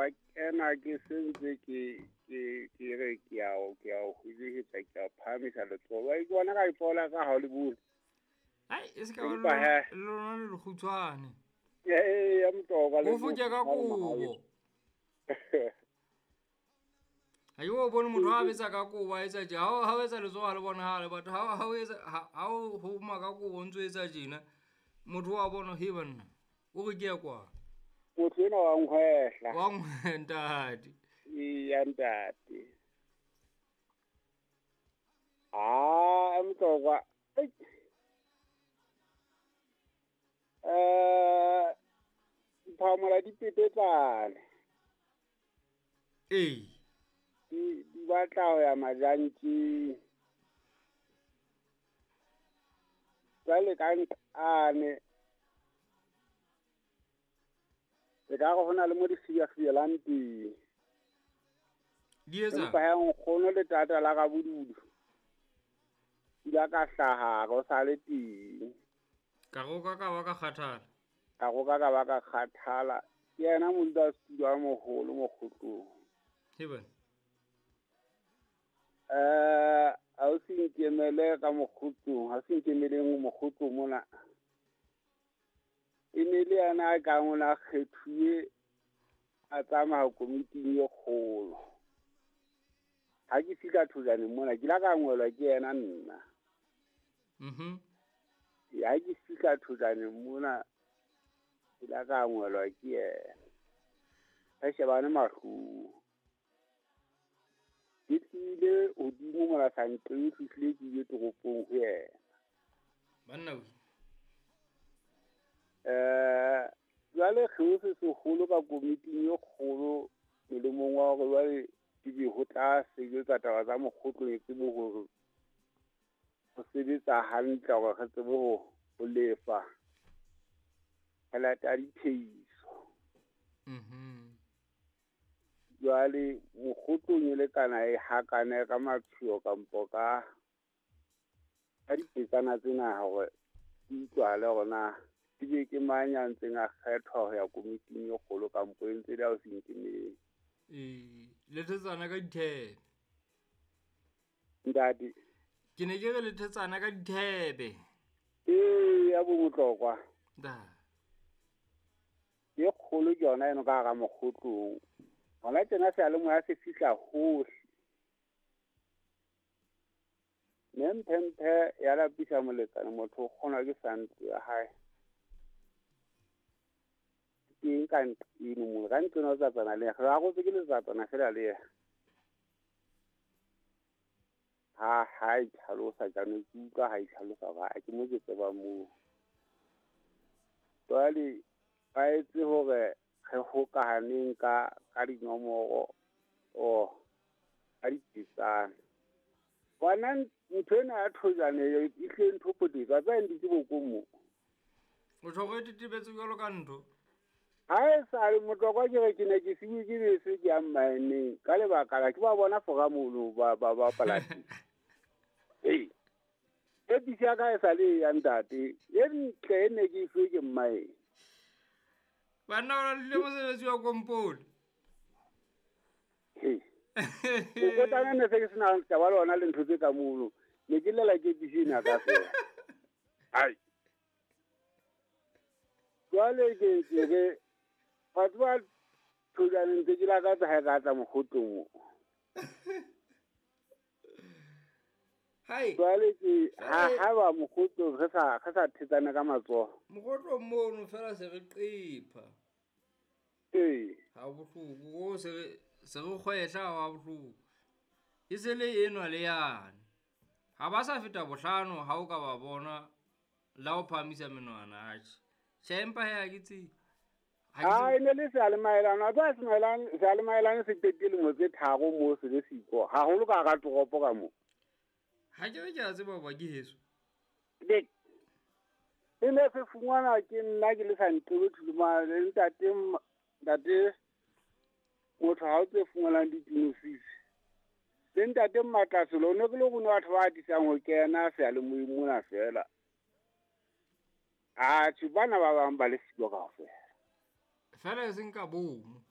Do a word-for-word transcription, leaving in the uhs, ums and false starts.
ba kena ke sentse ke ke ke re ke a o ke a o hudihetsa ke a phahamisa letsoho. Ba ke bona ka letsoho la ka ha o le bone. Ai e se ka ba lona le lekgutshwane. Ee ya Motlokwa le o foke ka kobo. Ha yo bone motho a betsa ka kobo a etsa tje ha ha etsa letsoho ha le bonahale batho ha ha etsa ha o homa ka kobo ntso etsa tjena motho wa bona he banna o re ke ya kwa motho ena wa nkgwehla wa ntate ya ntate ah Motlokwa eh phamola dipepetsane ee di di batla ho ya majantjing jwale ka nqane e ka re ho na le mo di fiafielang teng di etsa empa ha nkgono le tata la ka bodudu di ka hlaha go sa le teng ka roka ka ba ka kgathala ka roka ka ba ka kgathala ke yena modulasetulo a moholo mokgotlong he bana eh a o se nkemele ka mokgotlong ha se nkemeleng mokgotlong mona e ne le yena a kang o na kgethuwe a tsamaya komiting e kgolo ha ke fihla Thojaneng mona ke la ka ngwelwa ke yena nna mhm ha ke fihla Thojaneng mona ke la ka ngwelwa ke yena re shebane mahlong ke tlile hodimo mona sa nqe fihlile ke ile toropong ho yena banna we eh jwale kgeo se seholo ka komiting e kgolo molemong wa hore jwale ke be ho tla sebetsa taba tsa mokgotlong e tsebe hore ho sebetsa hantle hore re tsebe ho ho lefa tjhelete ya diphehiso mhm jwale mokgotlong e lekana e hakane ka matshwao kampo ka ka dipetsana tsena hore di utlwahale hore na ke be ke mang ya ntseng a kgethwa ho ya komiting e kgolo kampo e ntse le ya ho se nkemele ee le thetsana ka dithebe ntate ke ne ke re le thetsana ka dithebe ee ya bo Motlokwa da e kgolo ke yona eno ka hara mokgotlong hona tjena seyalemoya se fihla hohle mme mphemphe ya lapisa molekane motho o kgonwa ke santlo ya hae teng ka nqeno mo ka nqeno tsatsana le re arotse ke letsatsana fela le yena ha ha e tlhalosa jaanong ke utlwa ha e tlhalosa hore ha ke mo ke tseba moo jwale ba etse hore re hokahaneng ka ka dinomoro o ka dipetsana bona ntho ena ya Thojane e hle ntho potetse tsa ntse bokong mo o tjho re tetebetse jwalo ka ntho ha e sa le Motlokwa ke re ke ne ke siwe ke bese ke ya mmaeneng ka lebaka la ke ba bona fora mono ba ba bapala ee e bisi ya ka e sa le ya ntate e ntle e ne ke ifuwe ke mmae banna ba le mosebetsi wa kompone ee mokotana ne se ke sena taba le ona le ntho tse ka mono ne ke llela ke bisi ena ka fela ai jwale ke ke re batho ba Thojaneng ntse ke lakatsa ha e ka tla mokgotlong mo hai jwale ke ha ha ba mokgotlong re sa re sa thetsana ka matsoho mokgotlong mono fela se re qepha ee ha bohloko o se re se re kgwehla ha bohloko e se le enwa le yane ha ba sa feta bohlano ha o ka ba bona la o phahamisa menwana atjhe tjhe empa he ha ke tsebe ha e ne le seyalemaelane a tsa semaelane seyalemaelane se qetile dilemo tse tharo moo se le siko haholo ka hara toropo ka moo ha ke re ke a tseba hoba ke heso e ne se fumana ke nna ke le sa nqebe thulumane le ntate ntate motho ha o tse fumanang didiagnosis le ntate Mmatlaselo ne ke le rona batho ba atisang ho kena seyalemoyeng mona fela atjhe bana ba bang ba le siko kaofela fela e seng ka bomo